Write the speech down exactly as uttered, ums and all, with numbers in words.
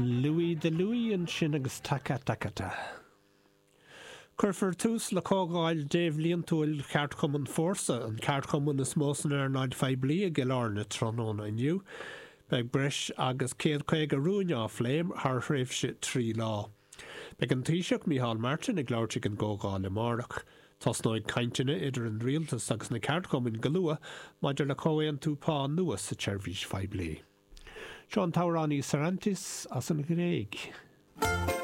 Louis de Louis ansin agus Taka Takata. Cuirfear tús le comhdháil débhliantúil Cheardchumann Fórsa an ceardchumann is mó san earnáil phoiblí i gCill Airne tráthnóna inniu. Beidh breis agus céad caoga rún á phlé thar thréimhse trí lá. Beidh an Taoiseach Micheál Martin ag labhairt ag an gcomhdháil amárach. Tosnóidh cainteanna idir an rialtas agus na ceardchumainn go luath maidir le comhaontú pá nua sa tseirbhís phoiblí. Seo an t-amhránaí Sarantis as an Ghréig.